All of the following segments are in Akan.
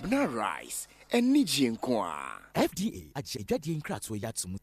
Abena Rice, anigyeɛ nko ara. FDA agye adwadie nkratoɔ yi ato mu.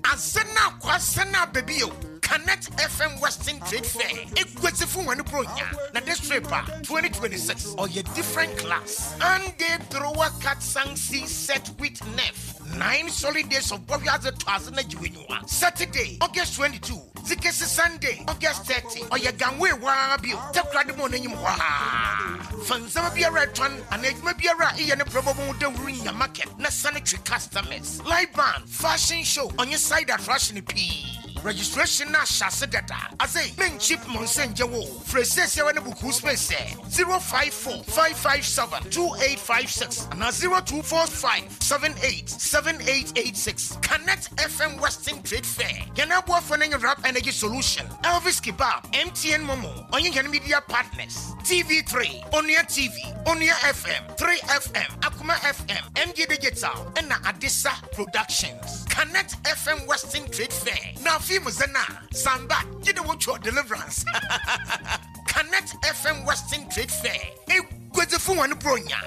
Asena kwasena bebio Connect FM Western Trade Fair Eguadzifo hɔn Buronya na this trip a 2026 ɔyɛ different class. Ande Drowa Cat Sang Si Set with Nef 9 solid days of Bɔhwɛ Adze Tɔ Adze na Gye W'enyiwa. Saturday, August 22 dze kesi Sunday, August 30 ɔyɛ Ganway waa bio Takoradi Mall n'enyim hɔ ara. Fa ndzɛmba biara a etɔn anaa edwuma biara a eyɛ no brɛ bɔbɔ ho dawur nya market na san twe customers. Live band, fashion show ɔnye side attraction pii. Registration no ahyɛ ase dada. Adze, mennkyip mo nsa nngye wo o. Frɛ siesiara na book wo space ɛ, 054 557 2856 anaa 0245 78 7886. Connect FM Western Trade Fair. Hɛn aboafo no nye Rap Energy Solution, Elvis Kebab, MTN MoMo, ɔnye hɛn media partners, TV3, Onua TV, Onua FM, 3FM, Akoma FM, MG Digital, na Adesa Productions. Connect FM Western Trade Fair. Na afei mu dze no a, Samba, gye dɛ wotwa Deliverance. Connect FM Western Trade Fair. Eguadzifo hɔn Buronya.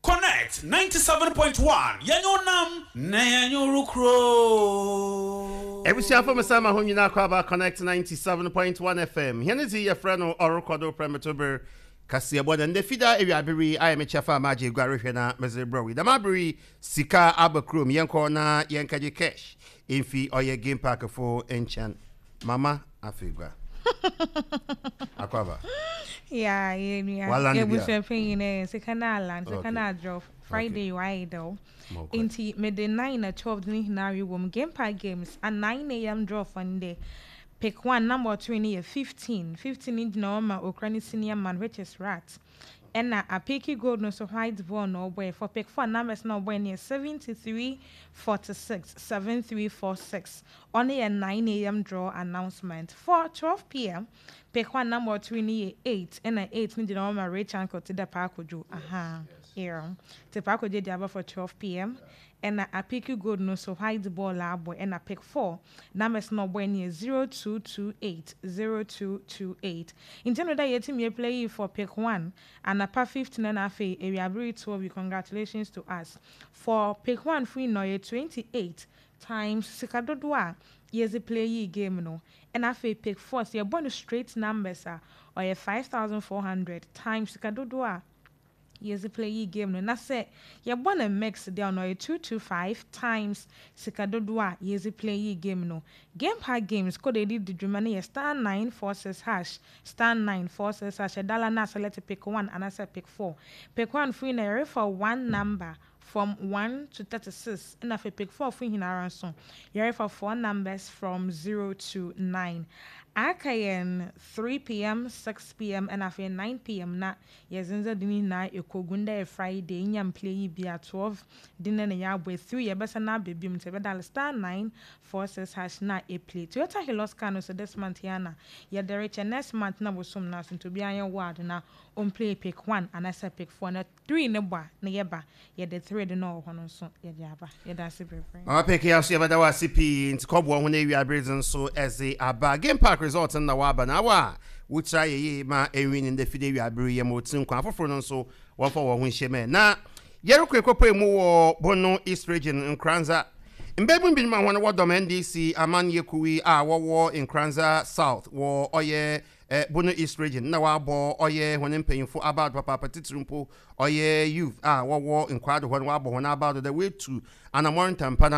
Connect 97.1 Yɛnyɛ wo nam na yɛnyɛ wo rokuro. Ebusuafo mesan ma hom nyina akɔ aba Connect 97.1 FM. Hɛn dze yɛfrɛ no Ɔrokɔ Do Prɛmto Ber Kaseɛbɔ na ndɛ Fida ewiaber yi ayɛ me kyɛfa a magye egua rohwɛ na medze rebrɛ wo yi. Dɛm aber yi sika aba kurom yɛnkɔ na yɛnkɛgye cash mfi ɔyɛ Game Park fo nkyɛn. Mama Afegua. Akɔ aba. Yeah, yeah, yeah. Waland bi a. Ebusua panyin eh, sika na aland, sika na adrop. Friday why though. Nti me de 9 na 12 ne nyinaa wɔ mu. Game Park Games a 9 a.m. draw for ndɛ. Pick one number ɔtore no yɛ 15. 15 no gyina hɔ ma okura ne senior man, which is Rat. Ɛna Apiki Gold no nso white ball na ɔbɔɛ. For pick four numbers na ɔbɔɛ no yɛ 73 46 7346. Ɔno yɛ 9 a.m. draw announcement. For 12 p.m., pick one number ɔtore no yɛ 8. Ɛna 8 no gyina hɔ ma Rich Uncle ti dɛ Paakodwo. Aha. Yeah. Ti Paakodwo di aba for 12 p.m. Ɛna Apiki Gold no nso white ball abɔ. Ɛna pick four numbers na ɔbɔɛ no yɛ 0228 0228. Nti no da yɛtumi play yi for pick one anapa 15 na afei ewiabere 12. Congratulations to us. For pick one free no yɛ 28 times sika dodoɔ a yɛdze play yi game no. Ɛna afei pick four sɛ yɛbɔ no straight numbers a, ɔyɛ 5400 times sika dodoɔ a yɛdze play yi game no. Na sɛ yɛbɔ no mix deɛ, ɔno ɔyɛ 225 times sika dodoɔ a yɛdze play yi game no. Game Park Games code a yɛde di dwuma no yɛ *946#, *946#. Ɛdala na select pick one anaasɛ pick four. Pick one free na yɛrefa one number from 1 to 36, ɛna afei pick four fo nyinara nso yɛrefa four numbers from 0 to 9. Aka yɛn 3 p.m., 6 p.m. ɛna afei 9 p.m. na yɛdze nsa de ne nyinaa ɛkɔgu. Ndɛ yɛ Friday, nya mplay yi bi a 12 de ne ne yɛabɔ 3 yɛbɛsɛ na aba biom, nti yɛbɛdial *946# na ɛplay. Toyota Hilux car no so this month yɛ na yɛde rekyɛ next month na bosom no aso, nti obiara yɛ ward na ɔmplay pick one anaasɛ pick four na three ne bɔ a na yɛba yɛde three de na ɔwɔ hɔ no nso yɛde aba. Yɛda ase bebree. Mama Peke aso yɛbɛda wɔ ase pii nti kɔboɔ ho no awia bere dze nso ɛdze aba. Game Park result no na waba na awa a wokyerɛ ayɛ yie ma ɛnwi ne ndɛ fide awia bere yɛ ma ɔtiri nkwa afoforɔ no nso wɔmfa wɔn ho nhyɛ mɛ na yɛrekɔ ekɔpɔ mu wɔ Bono East Region Nkoranza. Mbɛbu binom a wɔn wɔdɔm NDC amanyɛ kuwi a wɔwɔ Nkoranza South wɔ ɔyɛ Bono East Region na wɔabɔ ɔyɛ hɔn mpanyimfo abaado papaapa, titiri mpo ɔyɛ youth a wɔwɔ nkwaado hɔ no, wɔabɔ hɔn abaado dɛ woetu anamɔn ntampa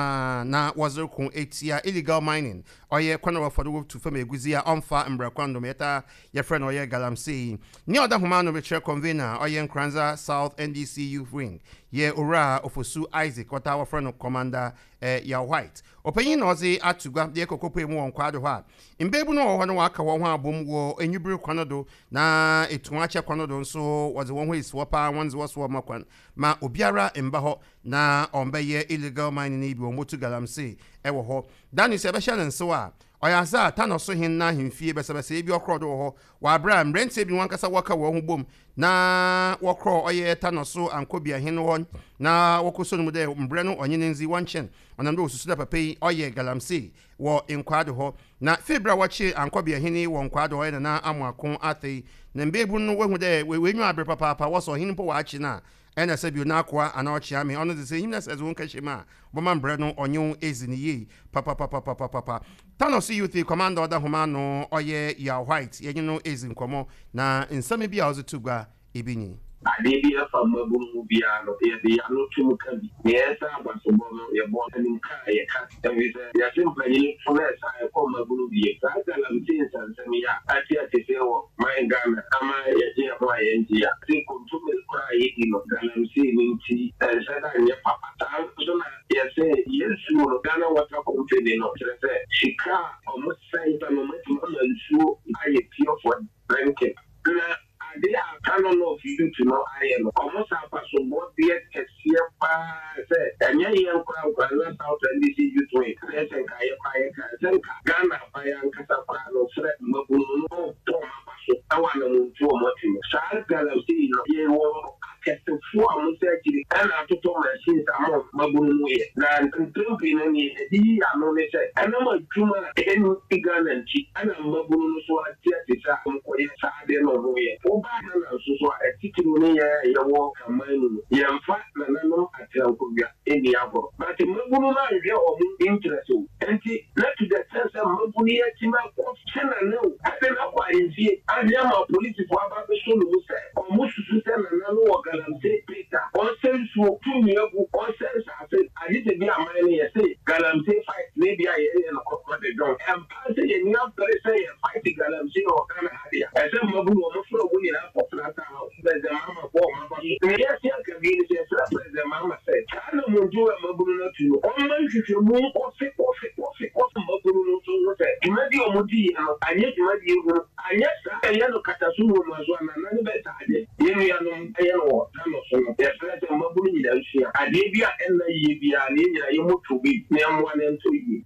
na wɔdze reko etia illegal mining, ɔyɛ kwan a wɔfa do wotu fam egudzi a ɔmmfa mbra kwan do ma yɛtaa yɛfrɛ no ɔyɛ galamsey yi. Nea ɔda homa ano rekyerɛ convener a ɔyɛ Nkoranza South NDC Youth Wing yɛ Owura Ofosu Isaac, wɔtaa wɔfrɛ no Commander Yaw White. Ɔpanyin na ɔdze ato gua de kɔkɔpuei mu wɔ nkwaado hɔ a mbeebu no wɔ hɔ no wɔaka hɔn ho abom wɔ enyiber kwan no do na etuo akyɛ kwan no do nso wɔdze wɔn ho esi hɔ paa, wɔn dze wɔso wɔma kwan ma obiara mba hɔ na ɔmbɛyɛ illegal mining yi bi, wɔn motu galamsey wɔ hɔ. Daniel sɛ ɛbɛhyɛ ne nsew a Ɔyɛ adze a Tano so hen n'ahemfie basabasayɛ bi ɔkrɔɔ do wɔ hɔ wɔ aber a mberantsɛ bi hɔnankasa wɔka hɔn ho bɔ mu na wɔkrɔɔ ɔyɛ Tano so Ankobia hen hɔ na wɔkɔsɔ no mu dɛ mbrɛ no ɔnye no ndzi wɔnkyɛn ɔnam dɛ wosusu dɛ papa yi ɔyɛ galamsey wɔ Nkwado hɔ. Na fir ber a wɔkyeer Ankobia hen yi wɔ Nkwado hɔ ɔyɛ Nana Amoako Arthur na mbeebun no woehu dɛ woenyiwa aber papaapa wɔsɔ ɔhen mpo wɔakye no a Nna sɛ bio n'akoa anaa ɔkyeame, ɔno dze sɛ inyim na sɛ edze wo nkɛhyɛ mu a, bɔma mbrɛ no ɔnye wo edzi no yie papapapapapapa. Thanos Youth Commander ɔda hom ano, ɔyɛ Yaw White, yɛnye no edzi nkɔmbɔ na nsɛm bi a ɔdze to gua bi nye. Adeɛ bi a ɛfa mmabunu ho biara no, yɛde yɛn ano tom ka bi. Nea ɛsɛ abasobɔ no, yɛbɔ animka a yɛka. Ɛfiri sɛ, yɛse mpanyin to na ɛsɛ a ɛkɔ mmabunu deɛ. Saa galamsey nsɛnsɛm yi a ate atese wɔ man Ghana ama yɛgye yɛn ho a yɛngye a, se kontomire koraa a yɛdi no, galamsey no nti, ɛnhyɛ da nyɛ papa. Saa nso na yɛse yɛn nsuo no, Ghana Water Company no, kyerɛ sɛ sika a wɔsɛe no, wɔatumi ama nsuo ayɛ pure for drinking. Na ade a Kano North Youth no ayɛ no, wɔn san abasobɔdeɛ kɛseɛ paa sɛ ɛnyɛ yɛn nkoraa na South NDC Youth Wing na ɛsɛ nka yɛ koraa yɛka ɛsɛ nka Ghana aban ankasa koraa no frɛ mmabunu no bɔ wɔn aba so wɔ anamontuo a wɔatu no. Saa galamsey no yɛwɔ akɛsefoɔ a wɔn nsa akyiri na atotɔ machines ama wɔn mmabunu no yɛ. Na mpɛn pii no deɛ yɛde yi ano ne sɛ ɛnam adwuma a ɛnni Ghana nti na mmabunu no so ate ate sɛ wɔkɔyɛ saa adeɛ no a wɔyɛ. Woba Ghana nso so a, atitiriw ne yɛn a yɛwɔ aman mu no, yɛmfa nananom atenankonnwa nni agorɔ. But mmabunu no anhwɛ wɔn interest o. Nti na to the extent sɛ mmabunu yi atumi akɔ kye Nana o, ɛde no akɔ ahemfie, ahwɛ ama apolisifoɔ aba abɛsɔ no mu sɛ wɔsusu sɛ Nana no wɔ galamsey pit a, ɔnsɛ nsuo, tu nnua gu, ɔnsɛ nsaase, agye sɛ bi aman no yɛse galamsey fight na ebia yɛyɛ no kɔkɔ de dɔn. Ɛmpa sɛ yɛn ani abere sɛ yɛ fight galamsey wɔ Ghana ha deɛ, ɛsɛ mmabunu wɔn frɛ wɔn nyinaa kɔ Frata House, President Mahama bɔ wɔn aba so. Nea yɛte aka bio ne sɛ yɛsrɛ President Mahama sɛ saa anammɔntuo a mmabunu no atu no, ɔmma nhwehwɛmu nkɔ se kɔ se kɔ se kɔ se mmabunu no nso nhu sɛ dwumadi a wɔdiiɛ no anyɛ dwumadie hunu, anyɛ saa a ɛyɛ no kataso nwomaso anaa nane bɛsa ade. Yɛn nuanom yɛ no wɔ Tano so no, yɛsrɛ sɛ mmabunu nyinaa nsua adeɛ bi a ɛnna yie biara na yɛn nyinaa yɛmmɔ tuo bi na yɛmmoa no ɛntɔ yie.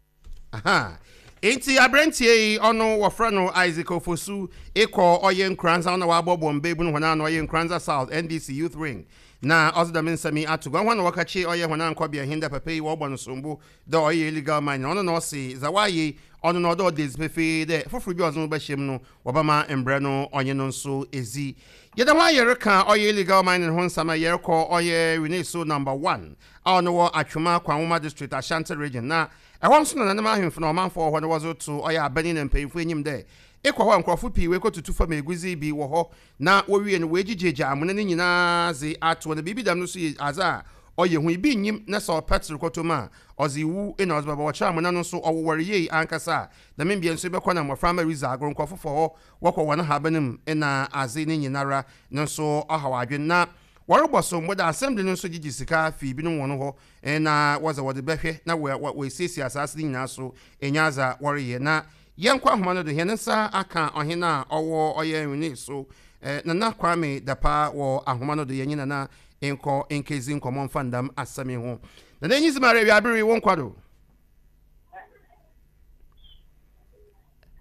Aha. Ntsi aberantsɛ yi ɔno wɔfrɛ no Isaac Ofosu ekɔ ɔyɛ Nkoranza ɔna ɔabɔbɔ mbaebun hɔn ano ɔyɛ Nkoranza South NDC Youth Wing na ɔdze dɛm nsɛm yi ato gua. Hɔn na wɔkɛkye ɔyɛ hɔn ankɔbea hen dɛ papa yi wɔbɔ no sombo dɛ ɔyɛ illegal mining ɔno na ɔse dza ɔayɛ yi ɔno na ɔdɛ ɔda edzi pefee dɛ fofor bi a ɔdze no bɛhyɛ mu no wɔbɛma mbrɛ no ɔnye no nso edzi. Yɛda ho a yɛreka ɔyɛ illegal mining ho nsɛm a yɛrokɔ ɔyɛ Wineso number one a ɔno wɔ Atwoma Kwanwoma District Ashanti Region na Ɛhɔ nso na nananom ahemfo na ɔmanfo a wɔwɔ hɔ no wɔdze roto ɔyɛ abanyin na mpanyimfo enyim dɛ, Ekɔ hɔ a, nkorɔfo pii woekotutu famu egudzi bi wɔ hɔ, na wowie no woegyigyaegya amona no nyina dze ato hɔ, na biribi dɛm no so yɛ adze a ɔyɛ hu. Bi nnyim na sɛ ɔpɛtser kɔtɔ mu a, ɔdze wu na ɔdze bɛba. Wɔkyerɛ amona no so ɔwowar yie ankasa a, dɛm mbea no so ebɛkɔ na mboframba ridzi agor, nkorɔfo fa hɔ wɔkɔ hɔn haban mu na adze ne nyinara no so ɔhaw adwen. Na wɔrobɔ so mbo dɛ assembly no so gyegye sika fi binom hɔn hɔ na wɔdze wɔdze bɛhwɛ na woesiesie asaase no nyina so enya adze a wɔreyɛ. Na yɛnkɔ ahoma no do, hɛn nsa akã ɔhen a ɔwɔ ɔyɛ Nwene so, Nana Kwame Dapaah wɔ ahoma no do, yɛnye Nana nkɔ nkedzi nkɔmbɔ mfa ndam asɛm yi ho. Nana enyi dzi ma awiaber yi, wo nkwa do.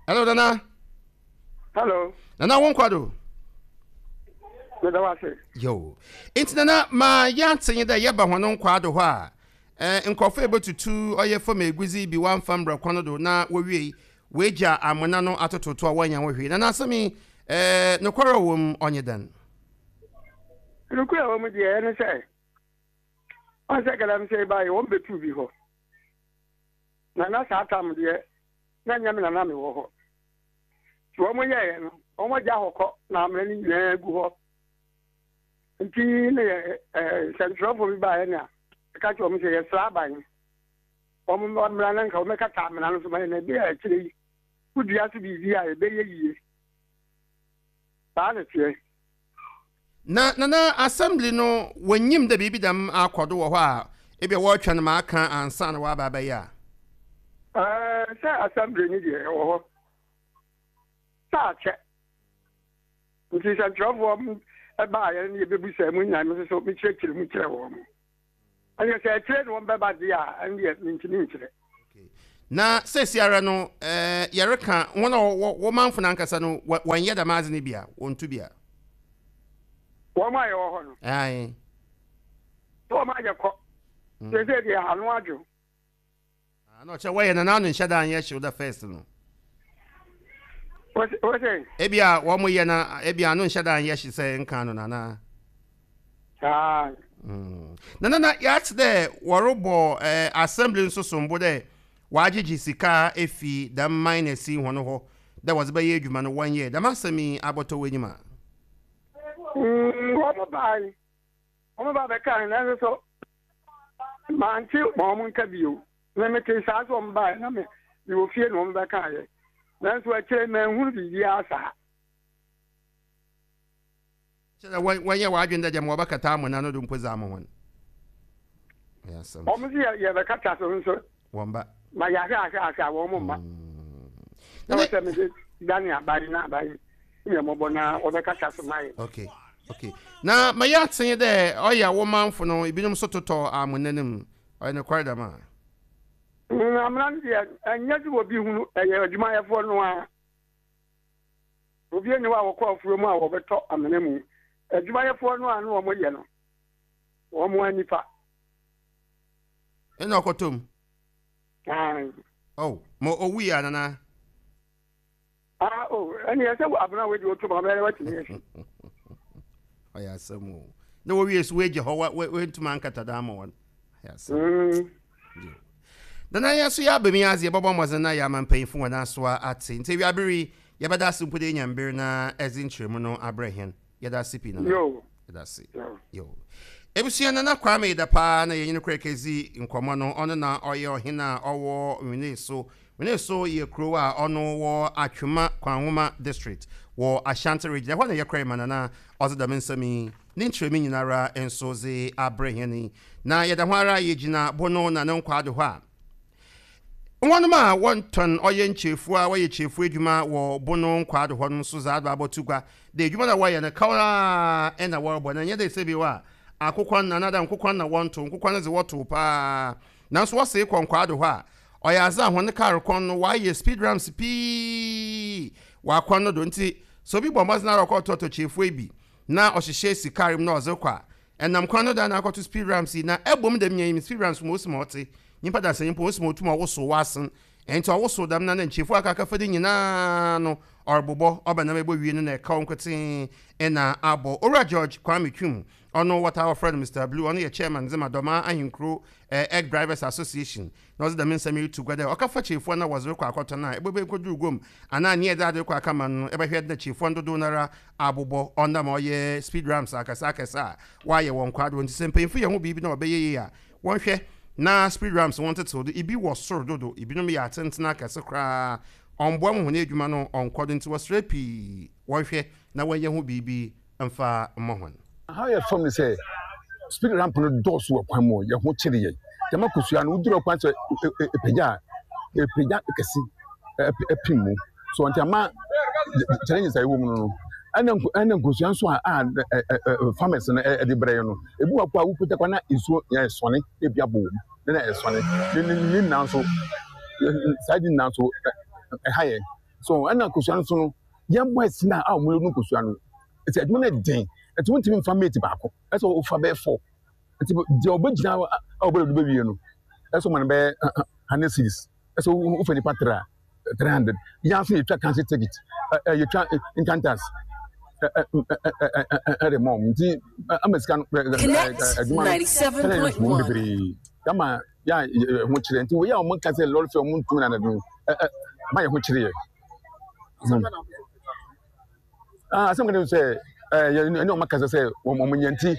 Hello Nana. Hello. Nana wo nkwa do. Meda wo ase. Yo. Nti nana ma yɛante nye dɛ yɛba hɔn nkwa do hɔ a, eh, nkorɔfo ebotutu ɔyɛ famu egudzi bi wɔammfa mbra kwan do na wowiei woegya amona no atototo a wɔannya ho hwee. Nana asɛm yi, eh, nokwar a ɔwɔ mu ɔnye dɛn? Nokwar a ɔwɔ mu deɛ ɛne sɛ, ɔn sɛ galamsey baeɛ wɔn bɛtuu bi hɔ. Na na saa tam deɛ na nyɛ me na na mewɔ hɔ. Nti wɔn yɛeɛ no, wɔn agya hɔ kɔ na amena no nyinaa gu hɔ. Nti ne yɛ ɛɛ nsɛntwerɛfoɔ bi baeɛ na ɛka kyerɛ wɔn sɛ yɛsrɛ aban wɔn mmra na nka wɔmmɛkata amena no so ma yɛn na ebi a akyire yi wodua so biribi a ɛbɛyɛ yie. Saa na ɛteɛ. Na nana assembly no wonnyim dɛ biribi dɛm akɔ do wɔ hɔ a ebia wɔrotweɔn ma akã ansaana wɔaba abɛyɛ a? Ɛɛ, sɛ assembly no deɛ ɛwɔ hɔ sɛ akyɛ nti sɛnkyerɛwfoɔ baeɛ no yɛbɛbusaa mu nyinaa me nso so mekyerɛkyerɛ mu kyerɛ wɔn. Ɛnneɛ sɛ akyire na wɔn bɛba deɛ a ɛndeɛ mentumi nkyerɛ. Na seseiara no, yɛreka hɔn a wɔwɔ wo mamfo no ankasa no, wɔnnyɛ dɛm adze no bi a, wonntu bi a? Wɔn a yɛwɔ hɔ no. Ae. Sɛ wɔn ayɛ kɔ. Seesei deɛ ano adwo. Ah, na ɔkyerɛ wɔyɛ na n'ano nhyɛ da anyɛ hyew da first no. Wose? Ebi a wɔn yɛ na ebi ano nhyɛ da anyɛ hye sɛ nka no nana. Saa. Na nana yɛate dɛ wɔrebɔ eh, assembly nso sombo dɛ wɔagyegye sika efi dɛm miners yi hɔn hɔ dɛ wɔdze bɛyɛ edwuma no wɔnyɛɛ dɛm asɛm yi abɔtɔ w'enyim a. Wɔn bae, wɔn ba bɛkae nanso so Mante wɔn nka bio. Me metee saa sɛ wɔn baeɛ na me mewɔ fie na wɔn bɛkaeɛ. Nanso akyire manhunu biribiara saa. Kyerɛ dɛ wɔnyɛ w'adwen dɛ gyama wɔbɛkata amona no do mpo dze ama hɔn. Ɔyɛ asɛm. Wɔn se yɛbɛkata so nso. Wɔn ba. Ma yɛahwɛ ahwɛ ahwɛ a wɔn mma. Na wɔ sɛ mede dane aban na aban yɛ mmɔbɔ na wɔbɛkata so ma yɛ. Okay. Okay. Na ma yɛatse nye dɛ ɔyɛ a wo mamfo no binom so totɔ amona no mu. Ɔyɛ nokwar dɛm a? Amona no deɛ, ɛnyɛ sɛ obi hunu, ɛyɛ adwumayɛfoɔ no ara. Obi nni hɔ a wɔkɔ afuo mu a wɔbɛtɔ amena mu. Adwumayɛfoɔ no a na wɔyɛ no, wɔn ara nipa. Ɛna ɔkɔtɔ mu? Aane. Oh, ma owui anana? Ah, oh, ɛne ɛsɛ abena wei deɛ ɔtum abɛyɛ watumi asi. Ɔyɛ asɛm o. Na wɔwie so wɔagya hɔ wɔntumi ankata da ama wɔn. Ɔyɛ asɛm. Nana yɛn nso yɛaba mu adze yɛbɛbɔ mmɔdzen na yɛama mpanyimfo wɔn asowa ate. Nti awiabere yi yɛbɛda ase mpo dɛ yɛnya mber na ɛdze nkyerɛmu no abrɛ hɛn. Yɛda ase pii Nana. Yɛda ase. Yo. Ebusua Nana Kwame da paa na yɛnye no kora kedzi nkɔmbɔ no. Ɔno na ɔyɛ ɔhen a ɔwɔ Nweneso. Nweneso yɛ kurow a ɔno wɔ Atwima Kwanwoma District wɔ Ashanti Region. Ɛhɔ na yɛkɔe ma Nana ɔdze dɛm nsɛm yi ne nkyerɛmu nyinara nso dze abrɛ hɛn yi. Na yɛda ho ara yegyina Bono na no nkwaado hɔ a Hɔnom a wɔtɔn ɔyɛ nkyefua a wɔyɛ kyefua edwuma wɔ Bono nkwaado hɔ no so dze aba abɔto gua dɛ edwuma no a wɔyɛ no kaw ara na wɔrobɔ na nnyɛ dɛ sɛ bio a akokwan anaadɛ nkokwan na wɔnntow, nkokwan no dze wɔtow paa naaso wɔsee kɔ nkwaado hɔ a ɔyɛ adze a hɔn kaar kwan no wɔayɛ speed ramps pii wɔ akwan no do ntsi sɛ obi bɔ mbɔdzen ara ɔkɔtɔtɔ kyefua yi bi na ɔhyehyɛ si kaar mu na ɔdze rokɔ a Ɛnam kwan no do ana akɔto speed ramps yi na ɛbom dɛm nyɛ speed ramps ma osi ma ɔtse nyimpa dasani mpo osi ma otum ɔwosow w'asen ntsi ɔwosow dɛm na na nkyefua aka akɛfa ne nyinaa no ɔrobobɔ ɔba nam ebowie no na ɛkaw nkotsee na abɔ Owura George Kwame Twum ɔno wɔtaa wɔfrɛ no Mister Blue ɔno yɛ chairman dze ma Dɔmaa Ahenkuro Egg Drivers Association Na ɔdze dɛm nsɛm yi roto gua dɛ, ɔkɛfa kyirefuwa na wɔdze rokɔ akɔtɔn a, ebɔbɔ ekodur guam anaa nyia edze adze rokɔ akɛma no no, ebɛhwɛ dɛ kyirefuwa no dodow noara abobɔ, ɔnam a ɔyɛ speed ramps akɛse akɛse a wɔayɛ wɔ nkwaa do. Ntsi sɛ mpanyimfo yɛ ho biribi na ɔbɛyɛ yie a, wɔnhwɛ na speed ramps wɔntsetsew do, bi wɔ sor dodo, binom yɛ atsentsen akɛse koraa, ɔmmboa ma hɔn edwuma no ɔnnkɔ do, ntsi wɔserɛ pii wɔnhwɛ na wɔnyɛ ho biribi mfa mmɔ hɔn. Haw yɛ fam ne sɛ speed ramp no dɔɔso wɔ kwan mu, yɛn ho kyere yɛn. Gyama kosua no, woduru kwan sɛ epagya a, epagya kɛse ɛpem mu. So nti ama challenges a ɛwɔ mu no no, ɛna ɛna nkosua nso a a farmers no ɛde brɛ yɛn no, ebi wɔ hɔ a wopagya kwan na nsuo yɛ sɔne na ebi abɔ wɔm na ɛsɔne. Ne ne ne nyinaa nso saa de nyinaa nso ɛha yɛn. So ɛna nkosua nso no, yɛn boys no a wɔn no nkosua no, ɛsɛ adwuma no den, ɛti wontumi nfa mate baako, ɛsɛ wofa bɛyɛ four. Nti deɛ ɔbɛgyina a ɔbɛlɛ do bɛwie no, ɛsɛ ɔma no bɛyɛ 100 cedis, ɛsɛ wofa nipa tere a 300. Yɛn nso yɛtwa council ticket, yɛtwa income tax ɛde ma wɔn. Nti ama sika no adwuma no challenges wɔ mu bebree. Ama yɛ a ho kyerɛ nti wei a wɔn ka sɛ lɔre fɛ wɔn ntumi na no ma yɛ ho kyerɛ yɛ. Ah, asɛm kan sɛ ɛɛ yɛ ɛne wɔn akasa sɛ wɔn wɔn nyɛ nti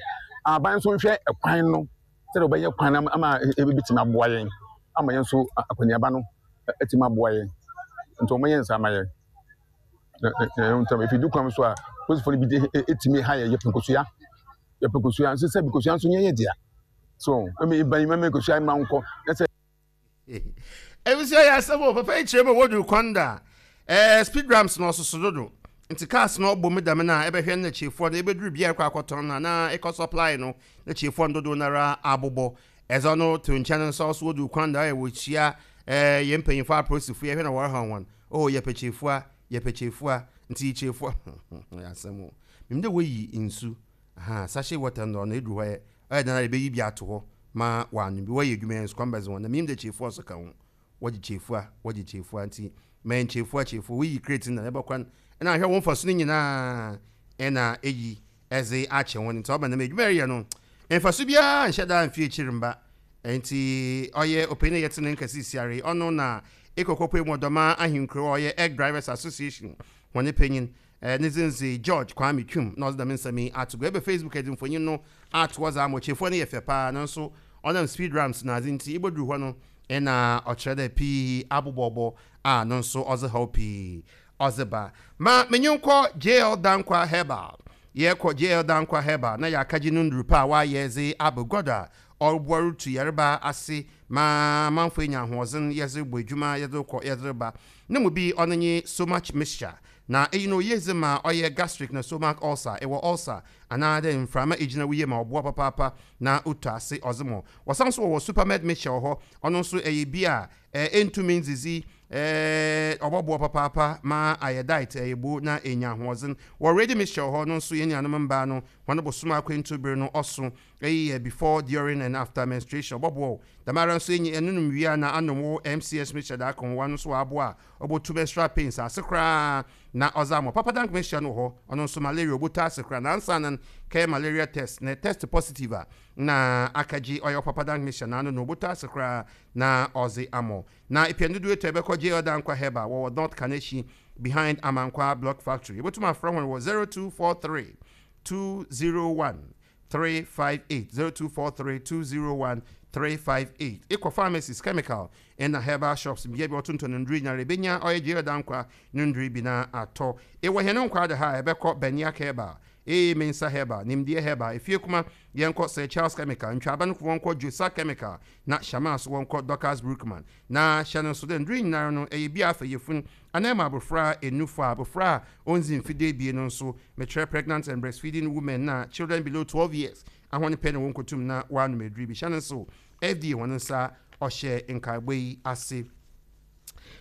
aban nso nhwɛ ɛkwan no sɛdeɛ wɔbɛyɛ kwan no ama ebitumi aboa yɛn ama yɛn nso akɔneaba no atumi aboa yɛn nti wɔn yɛ nsa ama yɛn na na ntam efi du kwan so a polisifoɔ no bi de etumi ha yɛ yɛpɛ nkosua yɛpɛ nkosua nso sɛ nkosua nso nyɛ yɛ dea so ɛmi iban mɛmɛ nkosua ma nkɔ ɛsɛ. Ebusua yɛ asɛm o, papa yi kyerɛ mu wɔduru kwan da a, ɛɛ speed ramps na ɔsoso dodo. Nti cars na ɔbɔ mu dɛm na ɛbɛhwɛ no na kyirefoɔ no ɛbɛduru bia ɛkɔ akɔtɔn no anaa ɛkɔ supply no na kyirefoɔ no dodoɔ no ara abobɔ. Ɛdze ɔno to nkyɛn nso ɔso wɔduru kwan da a wɔkyia Eh, yɛn mpanyimfo apolisifo yɛhwɛ na wɔrehaw hɔn. Oh, yɛpɛ kyefua, yɛpɛ kyefua, ntsi kyefua. Ɔyɛ asɛm o. Minyim dɛ woyi nsu, aha, sachet water no ɔno edur hɔ ɛ, ɔyɛ dɛn ara ebeyi bi ato hɔ ma wɔanom bi. Wɔyɛ edwuma yi nsukɔm bɛdze hɔn na minyim dɛ kyefua so ka ho. Wɔgye kyefua, wɔgye kyefua ntsi ma yɛn kyefua, kyefua. Woyi crate no na ebɔkɔ no nna ahwɛ wo mfaso no nyina na eyi dze akyɛ hɔn ntsi ɔba no dɛm edwuma a ereyɛ no mfaso biara nnhyɛ da mmfi ekyir mmba. Ntsi ɔyɛ ɔpanyin a yɛtse ne nka sisiara yi, ɔno na Ekokopue mu Ɔdɔma Ahenkurow a ɔyɛ Egg Drivers Association hɔn panyin. Ne dzin dze George Kwame Twum na ɔdze dɛm nsɛm yi ato gua. Ebɛ Facebook edze mfonyin no ato hɔ dze ama ɔkyerɛfua no yɛ fɛ paa naaso ɔnam speed ramps na adze ntsi ibodur hɔ no nna ɔkyerɛ dɛ pii abobɔbɔ a no so ɔdze haw pii ɔdze ba. Ma menye nkɔ JL Danquah Herbal. Yɛkɔ JL Danquah Herbal na yɛakɛgye no ndur pa a ɔayɛ dze aba gua do a ɔroboa rutu yarba ase ma amamfo enya ahoɔdzen yɛdze robɔ edwuma, yɛdze rokɔ, yɛdze reba. No mu bi ɔno nye Somach Mixture. Na iyi no oye dze ma ɔyɛ gastric na stomach ulcer, ewɔ ulcer anaa dɛ mframa egyina wo yamu a ɔboa papaapa na otu ase ɔdze ma wo. Wɔsan so wɔwɔ Supermed Mixture wɔ hɔ, ɔno so ɛyɛ bi a enntum nndzidzi, ɔbɔboa papaapa ma ayɛ diet ɛyɛ bo na enya ahoɔdzen. Wɔ Ready Mixture wɔ hɔ, ɔno so hɛn nuanom mbaa no hɔn bosoom akwantu ber no ɔso, iyi yɛ before, during and after menstruation, ɔbɔboa wo. Dɛmara so enye ɛnonom wie a na anom wo MCS Mixture dze aka ho, ɔno so ɔaboa a obotu menstrual pains ase koraa na ɔdze ama wo. Papa Dank Mixture no wɔ hɔ, ɔno so malaria obotu ase koraa na ansaana no kɛyɛ malaria test na test positive a nna akɛgye ɔyɛ wo Papa Dank Mixture na ano no obotu ase koraa na ɔdze ama wo. Na epɛ ndodow etu a ebɛkɔ JL Dankwa Herbal wɔwɔ North Kaneshie behind Amankwa Block Factory. Ebotum afrɛ hɔn wɔ 0243 201 358, 0243 201 358. Ekɔ pharmacies, chemical na herbal shops mbea bi a wɔtontɔn ndur nyinara ebenya ɔyɛ JL Dankwa no ndur bi na atɔ. Ewɔ hɛn nkwaa do ha a ebɛkɔ Baniak Herbal, AA Mensah Herbal, Nimdeɛ Herbal, Efiekuma, yɛnkɔ Sir Charles Chemical, Ntwaaba no wɔnkɔ Josa Chemical, na Shamaa so wɔnkɔ Dorcas Brookman. Na hyɛ no nso dɛ ndur yi nyinara no ɛyɛ bi a afa yafun anaa ma abofra enufo a abofra a onndzi mfe duebien no nso, mekyerɛ pregnant and breastfeeding women na children below 12 years ahɔn pɛ na wonnkotum na wɔanom edur bi. Hyɛ no nsew, FDA hɔn nsa ɔhyɛ nkaabɔ yi ase.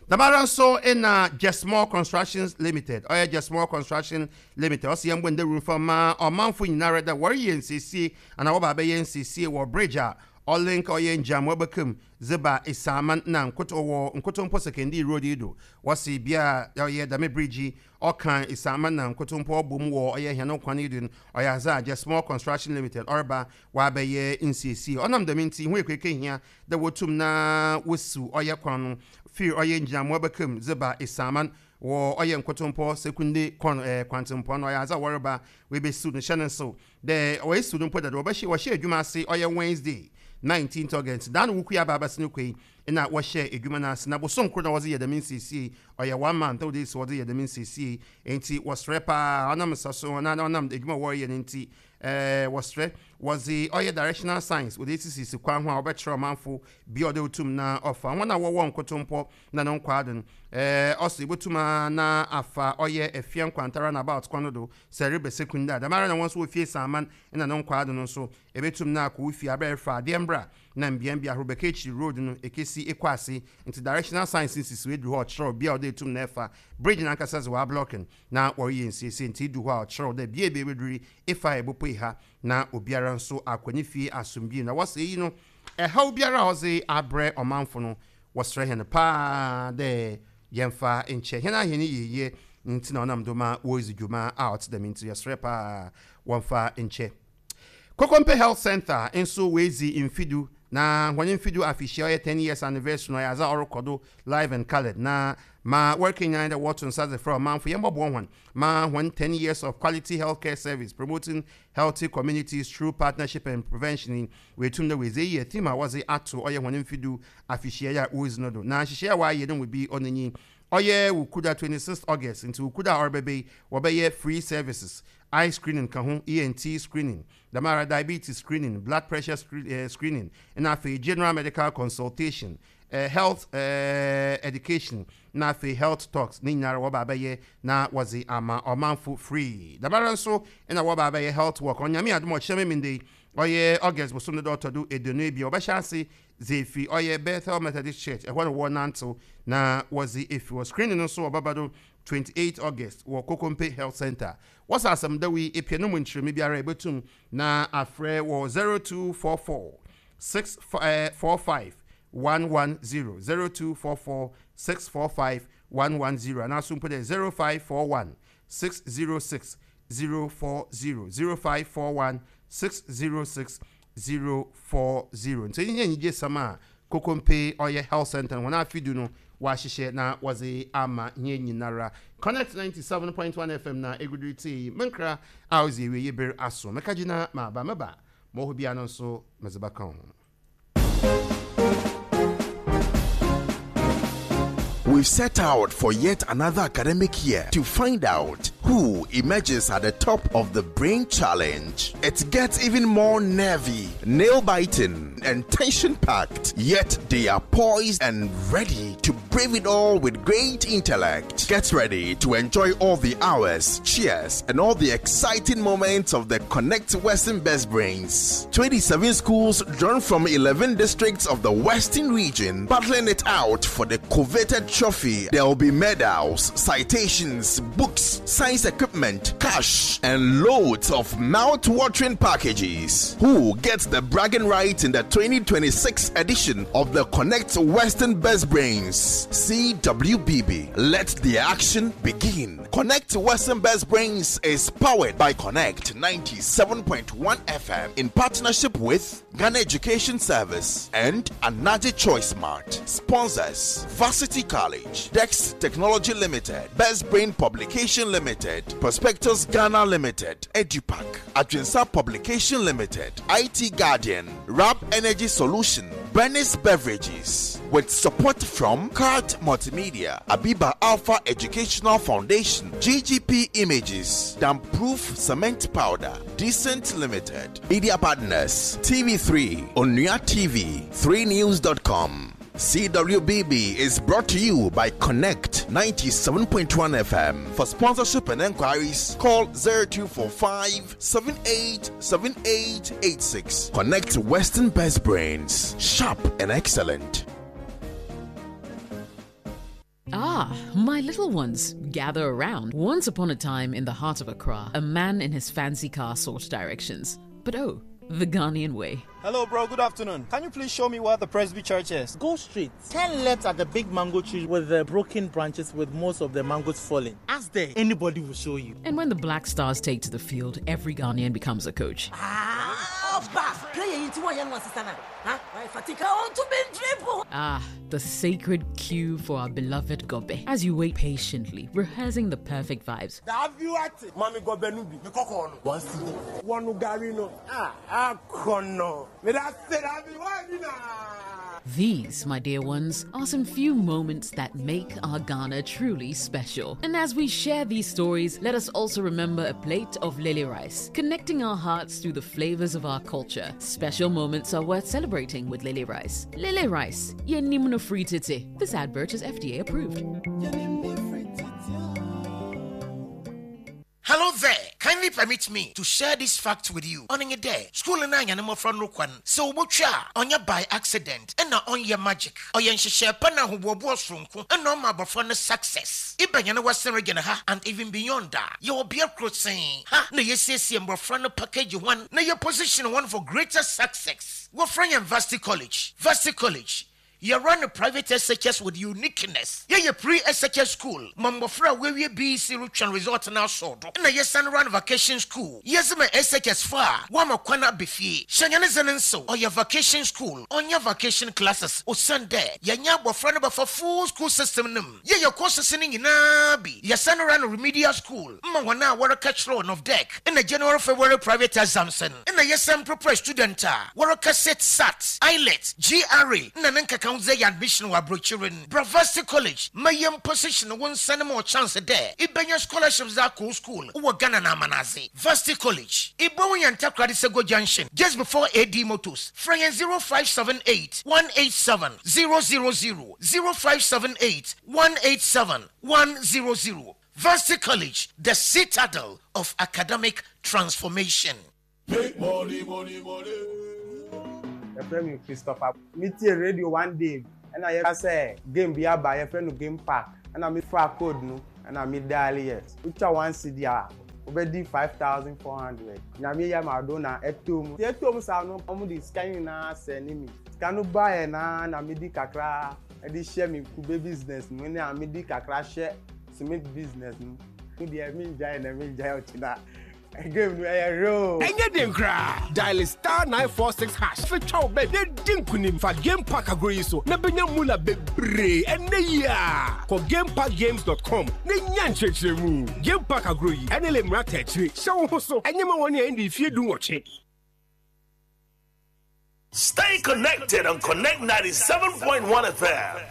Dɛmara nso na Jesmore Constructions Limited, ɔyɛ Jesmore Construction Limited, ɔse yɛmbɔ ndawur mfa mma ɔmanfo nyinara dɛ wɔreyɛ nsiesie anaa wɔba abɛyɛ nsiesie wɔ bridge a ɔlink ɔyɛ Ngyamua Bɛkam dze ba Esaaman na Nkoto wɔ Nkotompo Sekendii road yi do. Wɔse bea a ɔyɛ dɛm bridge yi ɔka Esaaman na Nkotompo ɔbɔ mu wɔ ɔyɛ hɛn kwan yi do no, ɔyɛ adze a Jesmore Construction Limited ɔreba wɔabɛyɛ nsiesie. Ɔnam dɛm ntsi, ho ekueke hia dɛ wotum na wosiw ɔyɛ kwan no fir ɔyɛ Ngyinamoa Bɛkam dze ba Esaaman wɔ ɔyɛ Nkotompɔ Sekunde kɔn kwantsempɔn no, ɔyɛ adze a wɔreba woebesiw no. Hyɛ no nsew dɛ woesiw no mpo dada, wɔbɛhyɛ wɔhyɛɛ edwuma ase ɔyɛ Wednesday nineteenth August, da no wukui aba abɛsen kɔ yi nna wɔhyɛɛ edwuma no ase, na bosoom kor na wɔdze yɛ dɛm nsiesie yi, ɔyɛ one month na wɔdze esi wɔdze yɛ dɛm nsiesie yi, ntsi wɔserɛ paa ɔnam nsa so anaa ɔnam edwuma a wɔreyɛ no ntsi wɔserɛ wɔdze ɔyɛ directional signs wɔdze esisisi kwan ho a ɔbɛkyerɛ ɔmanfo bea ɔdɛ otum na ɔfa, hɔn a wɔwɔ nkotompɔ na no nkwaa do no ɔso ibotum ara na afa ɔyɛ Efia Nkwanta runabout kwan no do sɛ ereba Sekunda a, dɛmara na hɔn so wɔ fie Saaman na no nkwaa do no so ebetum na akɔ wo fie aber a erefa adeɛ mbra na mbeambea ahorow bɛka ekyir road no ekesi ekɔ ase ntsi directional signs no sisi hɔ edu hɔ a ɔkyerɛ wo bea a ɔdɛ etum na efa, bridge nankasa dze wɔablɔck no na wɔreyɛ nsiesie ntsi edu hɔ a ɔkyerɛ wo dɛ bea a ebedur yi efa a ebopue ha na obiara nso akɔ ne fie asomdwee na wɔse iyi no ɛhaw biara a ɔdze abrɛ ɔmanfo no Wɔserɛ hɛn paa dɛ yɛmfa nkyɛ hɛn a hɛn yieyɛ ntsi na ɔnam do ma woridzi dwuma a ɔtse dɛm ntsi yɛserɛ paa wɔmfa nkyɛ. Kokompe Health Centre nso woedzi mfe du na hɔn mfe du afehyia ɔyɛ 10 years anniversary no ɔyɛ adze a ɔrokɔ do live and coloured na ma wɔrekenyan dɛ wɔto nsa dze frɛ ɔmanfo yɛmbɔboa hɔn ma hɔn 10 years of quality healthcare service promoting healthy communities through partnership and prevention yi woetum dɛ woedzi eyi yɛ theme a wɔdze ato ɔyɛ hɔn mfe du afehyia yi a woridzi no do. Na nhyehyɛɛ a wɔayɛ no mu bi ɔno nye ɔyɛ Wukuda 26th August, ntsi Wukuda a ɔrebɛba yi wɔbɛyɛ free services, eye screening ka ho, ENT screening, dɛmara diabetes screening, blood pressure screening, na afei general medical consultation, health education, na afei health talks, ne nyinara wɔba abɛyɛ na wɔdze ama ɔmanfo free. Dɛmara so na wɔba abɛyɛ health walk, Onyame adom a ɔkyena Memenda yi. ɔyɛ August bosoom no da ɔtɔ do 22, wɔbɛhyɛ ase dze efi ɔyɛ Bethel Methodist Church, ɛhɔ na wɔrenantsew na wɔdze efi hɔ. Screening no so ɔbɛba do 28 August wɔ Kokompe Health Centre. Wɔsɛ asɛm dɛw yi epɛ no mu nkyerɛmu biara a ibotum na afrɛ wɔ 0244 645 110, 0244 645 110 anaa so mpo dɛ 0541 606 040, 0541 606 040. Ntsi iyi nye enyigyesɛm a Kokompe ɔyɛ Health Centre no hɔn afe du no wɔahyehyɛ na wɔdze ama hɛn nyinara. Connect 97.1 FM na egu do retsie yi. Me nkra a odzi ewiei ber aso. Meka gyina maba. Meba ma ɔwɔ hɔ biara no so medze bɛka ho. We've set out for yet another academic year to find out who emerges at the top of the Brain Challenge. It gets even more nervy, nail biting, and tension packed, yet they are poised and ready to brave it all with great intellect. Get ready to enjoy all the hours, cheers, and all the exciting moments of the Connect Western Best Brains. 27 schools drawn from 11 districts of the Western region battling it out for the coveted trophy. There will be medals, citations, books, science equipment, cash, and loads of mouth watering packages. Who gets the bragging rights in the 2026 edition of the Connect Western Best Brains? CWBB. Let the action begin. Connect Western Best Brains is powered by Connect 97.1 FM in partnership with Ghana Education Service and Anaji Choice Mart. Sponsors Varsity College, Dex Technology Limited, Best Brain Publication Limited, Prospectus Ghana Limited, EduPack, Adrinsa Publication Limited, IT Guardian, Rap Energy Solution, Bernice Beverages, with support from Card Multimedia, Abiba Alpha Educational Foundation, GGP Images, Damproof Cement Powder, Decent Limited, Media Partners, TV3, Onua TV, 3news.com. CWBB is brought to you by Connect 97.1 FM. For sponsorship and enquiries, call 0245 787886. Connect Western Best Brains, sharp and excellent. Ah, my little ones, gather around. Once upon a time in the heart of Accra, a man in his fancy car sought directions. But oh, the Ghanaian way. Hello, bro. Good afternoon. Can you please show me where the Presby Church is? Go straight. Turn left at the big mango tree with the broken branches with most of the mangoes falling. Ask there. Anybody will show you. And when the Black Stars take to the field, every Ghanaian becomes a coach. Ah, Ah, the sacred queue for our beloved Gobe. As you wait patiently, rehearsing the perfect vibes. These, my dear ones, are some few moments that make our Ghana truly special. And as we share these stories, let us also remember a plate of lily rice, connecting our hearts through the flavors of our culture. Special moments are worth celebrating with lily rice. Lily rice, yenimno free titi. This advert is FDA approved. Hello there. Kindly permit me to share this fact with you. On a day, school na anya mmɔfra no kwan sɛ wobɔtwa a ɔnyɛ by accident ɛna ɔnyɛ magic. Ɔyɛ nhyehyɛ pa na ahoboaboa soronko ɛna ɔma abɔfra no success. Ibɛnya no Western Region ha and even beyond a yɛwɔ bea koro sen ha na yɛsiesie mmɔfra no package one na yɛ position one for greater success. Wɔfrɛ yɛn Varsity College. Varsity College yɛrun a private SHS with uniqueness. Yɛyɛ pre-SHS school ma mmɔfra a wɔawie BEC retwɛn result no asɔ do. Ɛna yɛsan run vacation school. Yɛdze ma SHS fo a wɔama kwan aba fie. Hyɛ nyɛ ne dze ne nsew. Ɔyɛ vacation school, ɔnyɛ vacation classes. Osiane dɛ yɛnyɛ abɔfra no bɛfa full school system no mu. Yɛyɛ courses no nyinaa bi. Yɛsan run remedial school ma hɔn a wɔreka kyerɛw NOVDEC na January February private exams no. Nna yɛsan prepare student a wɔreka sit SAT, IELTS, GRE na ne nkekaho dze ayɛ admission wɔ aborɔkyir no. Bra Varsity College ma yɛn position wo nsa no ma wo chance dɛ ibenya scholarships dze akɔ wo school wɔ Ghana na amanadze. Varsity College, ibohu hɛn Takoradi Sego Junction just before AD Motors. Frɛ hɛn 0578 187 000, 0578 187 100. Varsity College, the citadel of academic transformation. Make money, money, money. Yɛfrɛ me Christopher. Metie radio one day ɛna yɛka sɛ game bi aba yɛfrɛ no game park ɛna mefaa code no ɛna me dial yɛ. Wotwa one cedi a wobɛdi 5400. Nyame yɛ m'adom na ɛtɔ mu. Nti ɛtɔ mu saa no wɔn de sika no nyinaa sɛne me. Sika no baeɛ na na medi kakra de hyɛ me kube business mu ɛna medi kakra hyɛ cement business mu. Me deɛ mengyae ɛnɛ mengyae ɔkyena. Game no ɛyɛ real. Ɛnyɛ den koraa. Dial star 946 hash fa twa wo bet na di nkunim. Fa Game Park agorɔ yi so na benya mula bebree ɛnnɛ yi ara. Kɔ gameparkgames.com na nya nkyerɛkyerɛmu. Game Park agorɔ yi, NLA mmara taa akyire. Hyɛ wo ho so. Ɛnyɛ ma wɔn a ɛndi mfeɛ 18. Stay connected on Connect 97.1 FM.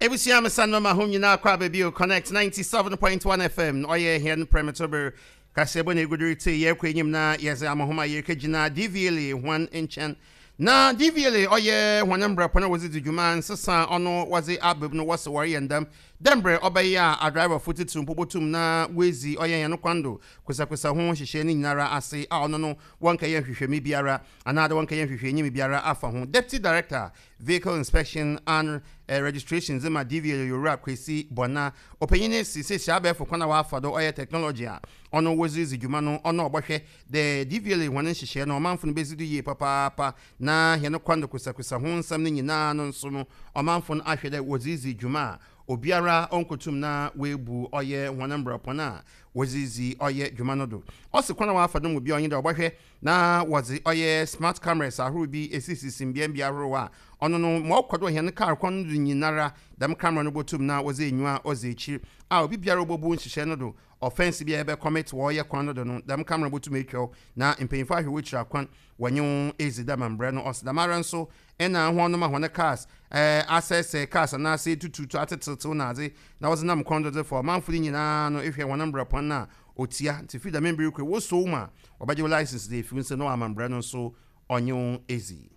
Ebusua mesan mama hom nyinaa kɔ aba bio Connect 97.1 FM na ɔyɛ hɛn prɛmtober kaseɛbɔ na egudo retse yɛrokɔ enyim na yɛdze ama hom a yerikegyina DVLA hɔn nkyɛn na DVLA ɔyɛ hɔn mbrɛpɔn a wɔdze dzi dwuma nsesa a ɔno wɔdze aba mu no wɔse wɔreyɛ ndɛm dɛ mbrɛ ɔbɛyɛ a adriverfo tsitsir mpo botum na woedzi ɔyɛ hɛn kwan do kosɛkosɛ ho nhyehyɛɛ ne nyinara ase a ɔno no wɔnnkɛyɛ nhwehwɛmu biara anaadɛ wɔnnkɛyɛ nhwehwɛenyim biara afa ho. Deputy Director, Vehicle Inspection and Registration dze ma DVLA Owura Kwesi Bɔna, ɔpanyin no se sesei abɛɛfo kwan a wɔafa do ɔyɛ technology a ɔno wɔdze ridzi dwuma no ɔno ɔbɔhwɛ dɛ DVLA hɔn nhyehyɛɛ no ɔmanfo no bedzi do yie papaapa na hɛn kwan do kosɛkosɛ ho nsɛm no nyina no nso no ɔmanfo no ahwɛ dɛ wɔdze ridzi dwuma a obiara onnkotum na oebu ɔyɛ hɔn mbrɛpɔn a wɔdze ridzi ɔyɛ dwuma no do. Ɔse kwan a wɔafa do mu bi a ɔnye dɛ ɔbɔhwɛ na wɔdze ɔyɛ smart cameras ahorow bi esisisi mbeambea ahorow a ɔno no ma ɔkɔ do wɔ hɛn kaar kwan no do nyinara, dɛm camera no botum na ɔdze enyiwa a ɔdzi ekyir a obibiara obobu nhyehyɛɛ no do, offence bi a ebɛ commit wɔ ɔyɛ kwan no do no, dɛm camera no botum etwa wo na mpanyimfo ahwɛ w'ekyir akwan wɔnye wo edzi dɛm mbrɛ no ɔse. Dɛmara so nna hɔn ma hɔn cars asɛɛsɛɛ cars anaasɛ etututu atsetsew na adze na wɔdze nam kwan do dze fa ɔmanfo no nyina no ehwɛ hɔn mbra pɔn no a otsia ntsi fir dɛm mber yi kɔ yi wosuo wo mu a wɔbɛgye wo license dze efi wo nsa na wɔama mbra no so ɔnye wo edzi.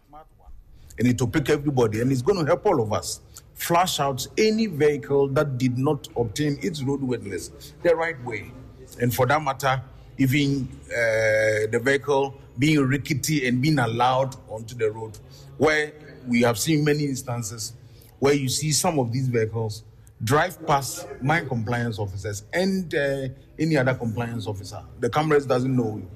And it will pick everybody and it's going to help all of us flush out any vehicle that did not obtain its roadworthiness the right way. And for that matter, even the vehicle being rickety and being allowed onto the road, where we have seen many instances where you see some of these vehicles drive past my compliance officers and any other compliance officer. The cameras doesn't know you.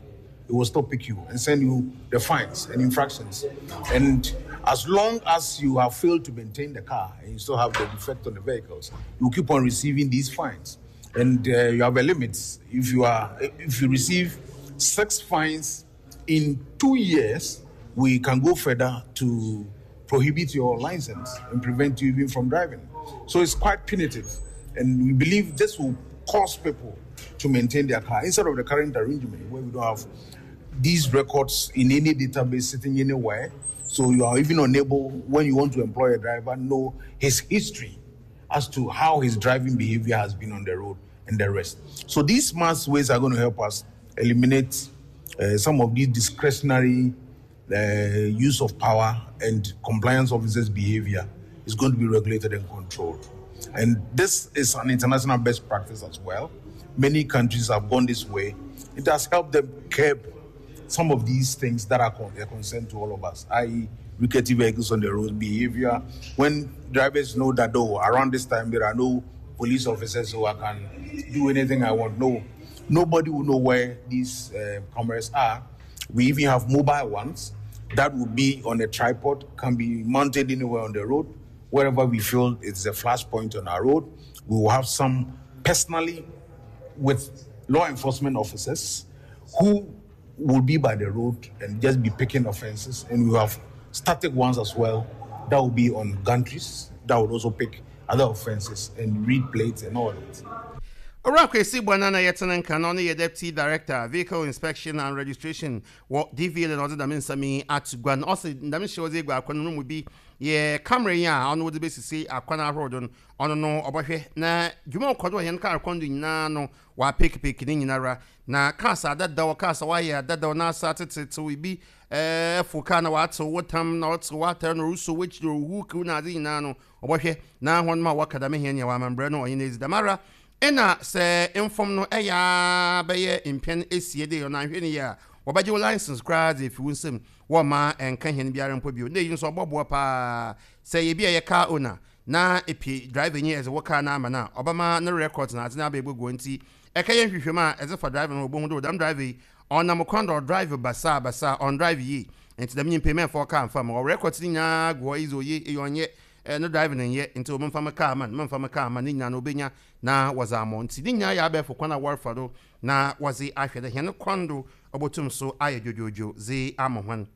It will still pick you and send you the fines and infractions. And as long as you have failed to maintain the car and you still have the defect on the vehicles, you keep on receiving these fines. And you have a limit. If you receive 6 fines in 2 years, we can go further to prohibit your license and prevent you even from driving. So it's quite punitive. And we believe this will cause people to maintain their car instead of the current arrangement where we don't have these records in any database sitting anywhere. So you are even unable, when you want to employ a driver, know his history as to how his driving behavior has been on the road and the rest. So these smart ways are going to help us eliminate some of these discretionary use of power and compliance officers' behavior is going to be regulated and controlled. And this is an international best practice as well. Many countries have gone this way. It has helped them curb some of these things that are a concern to all of us, that is rickety vehicles on the road, behavior. When drivers know that, oh, around this time there are no police officers so I can do anything I want. No, nobody will know where these cameras are. We even have mobile ones that will be on a tripod, can be mounted anywhere on the road. Wherever we feel it's a flashpoint on our road, we will have some personally with law enforcement officers who will be by the road and just be picking offenses. And we have static ones as well that will be on gantries that will also pick other offenses and read plates and all that. Owura Kwesi Bwana na yɛtene nka na ɔno yɛ Deputy Director, Vehicle Inspection and Registration wɔ DVLA na ɔdze dɛm nsɛm yi ato gua no. Ɔse dɛm nhyɛ ɔdze egu akwan no mu bi yɛ camera yi a ɔno wɔdze besisi akwan ahorow do no, ɔno no ɔbɔhwɛ na dwuma a ɔkɔ do wɔ hɛn kaar kwan do nyinaa no ɔapekipeki ne nyinara. Na cars adadaw, cars a wɔayɛ adadaw na asa atsetsetsew, bi ɛfow kaar na ɔatsew wo tam na ɔtsew w'atar na orusuo w'ekyir, oruhuw na adze nyinaa no ɔbɔhwɛ na hɔn ma wɔaka dɛm hɛn nea wɔamambrɛ no ɔnye no edzi. Dɛmara nna sɛ mfom no yɛ ara bɛyɛ mpɛn esia dei ɔno annhwɛ no yie a, Wɔbɛgye wo license koraa dze efi wo nsamu, wɔmma ɛnnka hɛn biara mpo bio. Nna iyi so ɔbɔboa paa. Sɛ eyɛ bi a eyɛ car owner na epɛ driver nyi edze wo car no ama no a, ɔbɛma no records na adze no aba ebogu hɔ ntsi ekɛyɛ nhwehwɛmu a edze fa driver no ho obohu dɛ dɛm driver yi ɔnam kwan do ɔdrive basaa basaa, ɔnndrive yie ntsi dɛm nyimpa yi mɛmmfa wo car mmfa mma. Ɔwɔ records no nyina gu hɔ, iyi dze oye, iyi ɔnnyɛ, no driving nnyɛ ntsi momfa me car mma no, memmfa me car mma no, ne nyina no obenya na wɔdze ama wo. Ntsi ne nyina yɛ abɛɛfo kwan a wɔrefa do na wɔdze ahwɛ dɛ hɛn kwan do obotum so ayɛ dwodwoodwo dze ama hɔn.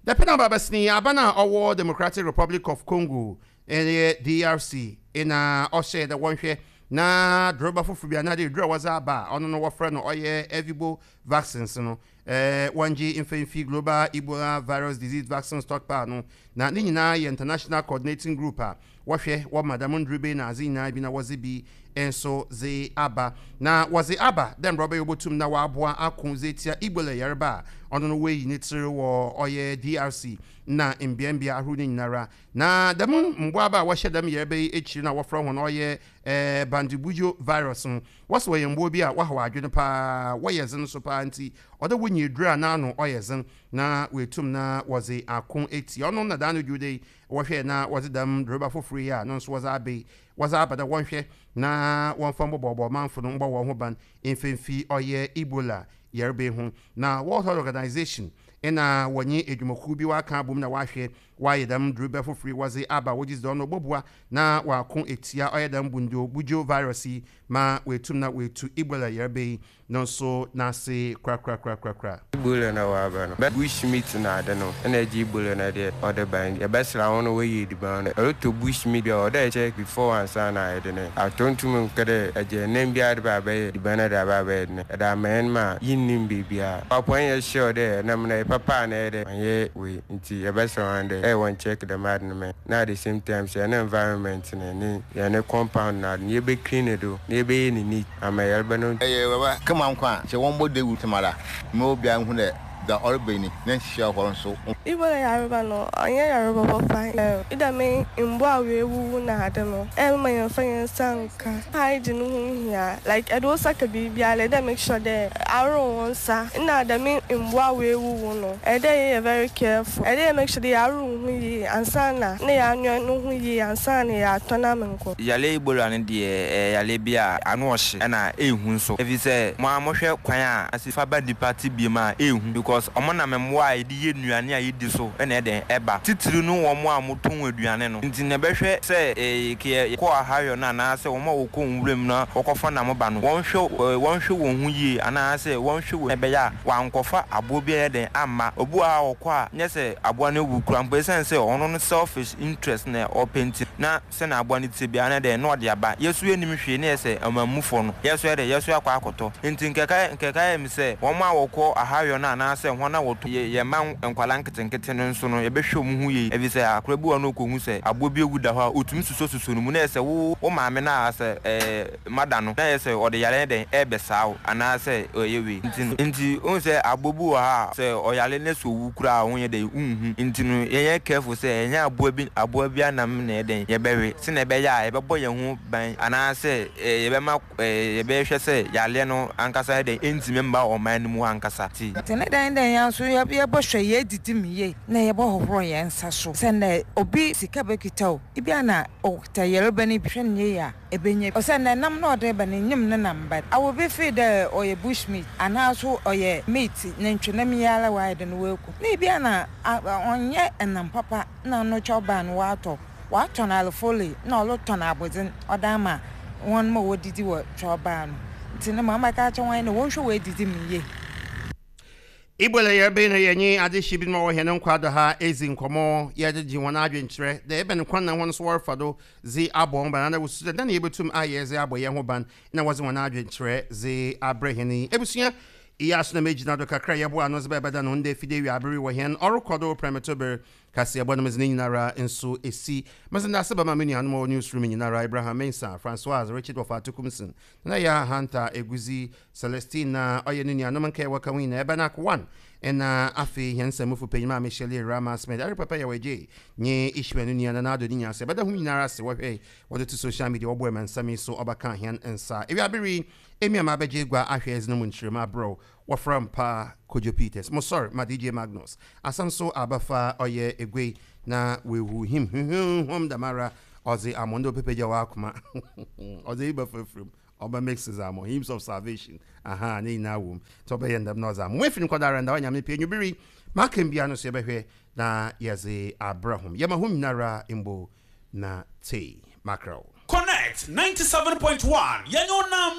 Dapɛn aba abɛsen yi, aban a ɔwɔ Democratic Republic of Congo, yɛ DRC, na ɔhyɛɛ dɛ wɔnhwɛ na droba fofor bi anaadɛ edur a wɔdze aba a ɔno no wɔfrɛ no ɔyɛ Ervebo vaccines no, wɔngye mfa mfi Global Ebola Virus Disease Vaccine Stockpile no, na ne nyina yɛ International Coordinating Group a wɔhwɛ wɔma dɛm ndur bei na adze nyina bi na wɔdze bi nso dze aba. Na wɔdze aba dɛ mbrɛ ɔbɛyɛ wobotum na wɔaboa ako dze etsia Ebola yarba a ɔno no woeyi ne tsir wɔ ɔyɛ DRC na mbeambea ahorow no nyinara. Na dɛm mboaba a wɔhyɛ dɛm yarba yi ekyir no a wɔfrɛ hɔn ɔyɛ Bandibugyo virus no, wɔse wɔyɛ mbowa bi a wɔhaw adwen paa, wɔyɛ dzen so paa ntsi ɔwɔ dɛ wonya edur a n'ano ɔyɛ dzen na woetum na wɔdze ako etsia ɔno na daa no dwowda yi Wɔhwɛɛ na wɔdze dɛm droba fofor yi a no so wɔdze aba yi, wɔdze aba dɛ wɔnhwɛ na wɔmfa mbɔbɔɔbɔ ɔmamfo no mbɔ hɔnho ban mfa mfi ɔyɛ Ebola yarba yi ho. Na World Health Organization na wɔnye edwumakuw bi wɔakã abɔ mu na wɔahwɛ wɔayɛ dɛm droba fofor yi wɔdze aba a wɔgye dzi dɛ ɔno ɔbɔboa na wɔako etsia ɔyɛ dɛm Bundibugyo virus yi ma woetum na woetu Ebola yarba yi no nso n'ase korakorakorakora. Ebola na waba no, bɛ bush meat na ade no na ɛgye Ebola no deɛ ɔde ba nti yɛbɛsra wɔn na wɔayi ediban no. Ɛretɔ bush meat bi a ɔwɔ dɛ ɛkyɛ before ansa na ayɛ dene. Atɔ ntum nkɛ dɛ ɛgye nam biara de ba abɛyɛ ediban no de aba abɛyɛ dene. Ɛde ama yɛn ma yɛnnim baabiara. Papo ɛnyɛ sure dɛ ɛnam no ɛyɛ papa anaa ɛyɛ dɛ ɔnyɛ wei nti yɛbɛsrɛ wɔn dɛ ɛyɛ wɔn check dɛm ade no ma yɛn. Na at the same time so yɛn environment no ne yɛn compound no ade no yɛbɛ clean do na yɛbɛyɛ no neat ama yarba no. Ɛyɛ baba kama nkwa a, sɛ wɔmbɔ dawur tsɛmara ma obiara nhu dɛ dza ɔreba yi ne nhyehyɛɛ hɔn so. Ebola yarba no, ɔnnyɛ yarba papa. Dɛm mbowa a woewuwu na adze no, mma yɛmmfa hɛn nsa nnka. Hygiene ho hia, like edze wo nsa ka biribiara a, ewɔ dɛ make sure dɛ ahorow wo nsa. Nna dɛm mbowa a woewuwu no, ɛwɔ dɛ yɛyɛ very careful. Ɛwɔ dɛ yɛ make sure dɛ yɛahorow ho yie ansaana na yɛanoa no ho yie ansaana yɛatɔn ama nkorɔfo. Yare Ebola no deɛ ɛyɛ yareɛ bi a ano ɔhye ɛna ɛhu nso ɛfiri sɛ mo ara mohwɛ kwan a ɛsi fa ba nnipa tebea mu a ɛhu because wɔn nam mmoa a yɛde yɛ nnuane a yɛdi so na ɛdɛn ɛba titiri no wɔn a wɔtɔn aduane no nti na ɛbɛhwɛ sɛ kɛ yɛkɔ ahayɔ no anaa sɛ wɔn a wɔkɔ nwura mu na wɔkɔfa nam ba no wɔnhwɛ wɔnhwɛ wɔn ho yie anaa sɛ wɔnhwɛ wɔn ɛbɛyɛ a wɔankɔfa aboa bi anyɛ dɛn amma obi wɔ hɔ a ɔkɔ a nyɛ sɛ aboa no awu koraa mpo ɛsiane sɛ ɔno no selfish interest na ɔpɛ nti na sɛnea aboa no te biara no dɛn na ɔde aba. Yɛ so yɛnnim hwee na yɛ sɛ ɔmanmufoɔ no, yɛ so yɛ dɛn, yɛ so yɛakɔ akɔtɔ. Nti nkɛka nkɛka yɛ me sɛ wɔn a wɔkɔ ahayɔ no anaasɛ wɔn a wɔtɔ yɛ yɛn mma nkwadaa nketenkete no nso no yɛbɛhwɛ wɔn ho yie ɛfiri sɛ akwadaa bi wɔ hɔ na ɔkɔhu sɛ aboa bi awu da hɔ a ɔtumi susɔsusɔ ne mu na yɛ sɛ wo wo maame no a sɛ ɛɛ mada no na yɛ sɛ ɔde yare dɛn ɛrebɛsaa wo anaasɛ ɔyɛ wei nti no nti wohu sɛ aboa bi wɔ ha a sɛ ɔyare na sɛ owu koraa a wonyɛ dɛn wonhu nti no yɛnyɛ careful sɛ ɛnyɛ aboa bi aboa bi anam na yɛ dɛn yɛbɛwe sɛnea ɛbɛyɛ a yɛbɛbɔ yɛn ho ban anaasɛ yɛbɛma yɛbɛhwɛ sɛ yareɛ no ankasa yɛ dɛn ɛntumi mma ɔman no mu ankasa ti. Nti ne dɛn dɛn yɛn nso yɛbɔhwɛ yɛdidi mu yie na yɛbɔhohoro yɛn nsa so sɛ nnɛ obi sika bɛkita o ebia na ɔkita yareba no bi hwɛ no yie a ebenya bi. Osiandɛ nam na ɔdze reba no, nnyim ne nam but awo bi feel dɛ ɔyɛ bush meat anaa so ɔyɛ meat, nantwinam yi ara ɔayɛ dɛn oeku. Na bi a na ɔnnyɛ nam papa na no kyɛwbaa no ɔatɔ, ɔatɔn alefole na ɔrotɔn abɔdzen ɔdze ama hɔn ma wodzidzi wɔ kyɛwbaa no. Ntsi no ma mɛka akyerɛ hɔn nye dɛ wɔnhwɛ woedzidzi mu yie. Ebola yarba yi na yɛnye adehye binom a wɔwɔ hɛn nkwa do ha edzi nkɔmbɔ, yɛdze gye hɔn adwenkyerɛ dɛ ebɛn kwan na hɔn so wɔrefa do dze abɔ hɔn ban anaa wosusu dɛ dɛn na yebotum ayɛ dze abɔ hɛnho ban na wɔdze hɔn adwenkyerɛ dze abrɛ hɛn yi. Ebusua yi aso na megyina do kakra a yɛboa ano dze bɛbɛda no ndɛ fide ewiaber yi wɔ hɛn ɔrokɔ do prɛmtober kaseɛbɔ no medze ne nyinara nso esi. Medze ndase bɛma me nuanom a wɔwɔ newsroom nyinara, Abraham Mensah, Francoise, Richard Wɔfa Atukumsen, Nana Yaa Hunter, Eguzi, Celestine na ɔyɛ no nuanom nkae a wɔka ho nyina, Ebenak One, nna afei hɛn nsamufo panyin Maame Shirley Rama Smith, Eric Papa Yaw Adjei, nye Ishmael no nua Nana Addo ne nyina ase. Yɛbɛda hom nyinara ase wɔhwɛe wɔdze to social media wɔboa ma nsɛm yi so ɔbɛkaa hɛn nsa. Ewiaber yi, emi a mabɛgye egua ahwɛ edze no mu nkyerɛmu abrɛ wo. Wɔfrɛ mpa Kojo Peters. Mo sɔr ma DJ Magnus. Asɛm so abafa ɔyɛ eguei na wehu him huhuhum dɛmara ɔdze amon dɛ ɔbɛpɛgya w'akoma ɔdze eyi bɛfrafra mu ɔbɛ mix dze amon hymns of salvation aha ne nyinaa wɔ mu ntsi ɔbɛyɛ ndɛm na ɔdze amon efi no kɔdara nda Onyame pɛ enwuber yi makam bia no so yɛbɛhwɛ na yɛdze abrɛ hom yɛma hom nyinara mbo na tsei makrɛw. Connect 97.1 yɛnyɛ ɔnam.